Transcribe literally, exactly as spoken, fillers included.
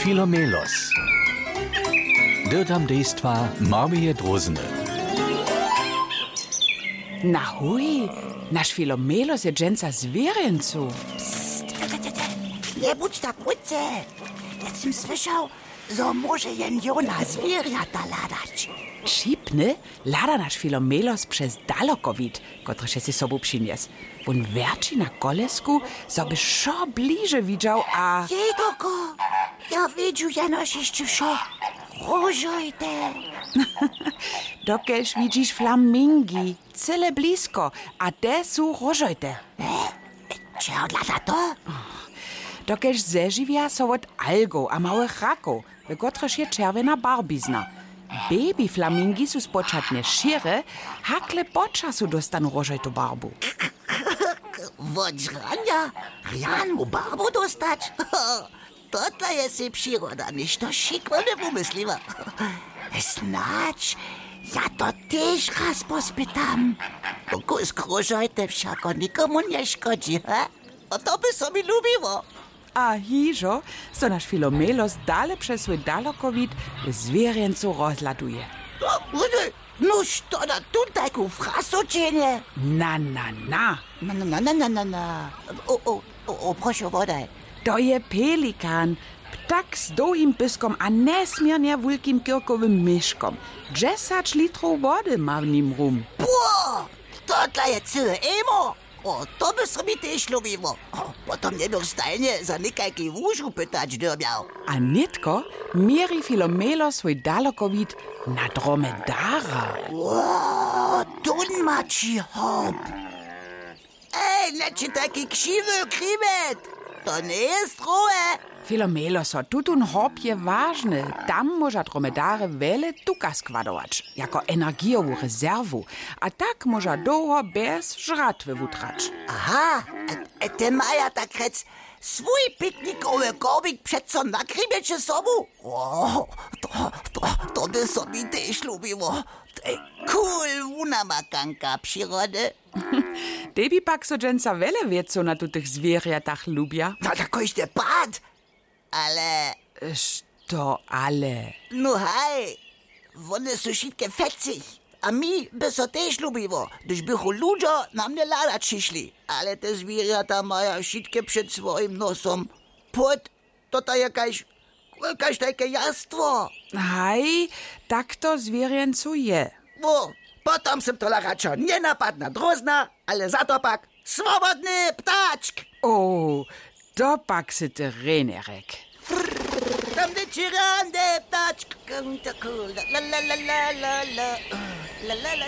Filomelos. Dyrtam dejstwa Marmije Drózny. Na huj, naš Filomelos je dźensa w zwěrjencu. Pst, te, te, te, te. Njebudź tak wótře. Ja sym słyšał, zo móže jen jona zwěrjata hladać. Wšipny hlada naš Filomelos přez dalokowid, kotryž je sej sobu přinjesł. Wón wjerći na kolesku, zo by wšo bliže widźał a... Jej doko, ja widźu jenož hišće wšo. Róžojte. Dokelž widźiš flamingi, cyle blisko, a te su róžojte. Čehodla za to? Dokelž zežiwja so wot algow a małych rakow, w kotrychž je čerwjena barwizna. Baby flamingi su spočatnje šěre, hakle po času dóstanu róžojtu barbu. Wot žranja rjanu barbu dóstać? Totle je sej přiroda něšto šikowne wumysliła. Snadź ja to tež raz pospytam. Kusk róžojte wšako nikomu nješkodźi, he? A to by so mi lubiło. A hižo, zo naš Filomelos dale přez swój dalokowid w zwěrjencu rozhladuje. Nuž to da tón tajku frasu činje? Na, na, na. Na, na, na, na, na, na, na. O, o, o, o, prošu, wodaj. To je pelikan. Ptak z dołhim pyskom a njesměrnje wulkim kirkowym měškom. Dźesać litrow wody ma w nim rum. Pło! Totle je cyłe ejmo. O, to by so mi tež lubiło. O, potom njebych stajnje za někajki łužu pytać dyrbjał. A nětko měri Filomelo swój dalokowid na dromedara. Wo, tón ma ći hop. Ej, nječitaj křiwy křiwet. To njeje strowe. Filomelo so, tutón hop je wažny. Tam móža dromedary wjele tuka składować jako energijowu rezerwu, a tak móža dołho bjez žratwy wutrać. Aha. Te maja tak rjec swój piknikowy korbik přeco na krimjeće sobu. To by so mi tež lubiło. Tej cool wunamakanka přirody. Tej bi pak so dźensa wjele wěcow na tutych zwěrjatach lubja. Na kóždy pad. Ale što ale? No haj, wone su wšitke fecich. A mi by so tež lubiło, hdyž bychu ludźo na mnje hladać přišli. Ale te zwěrjata maja wšitke před swojim nosom płót. To ta je kaž kaž tajke jastwo. Haj, tak to w zwěrjencu je. Wo, potom sym tola radšo njenapadna drózna, ale za to pak swobodny ptačk. O, to pak sy ty rjenje rjek. Tam dźeći rjany ptačk.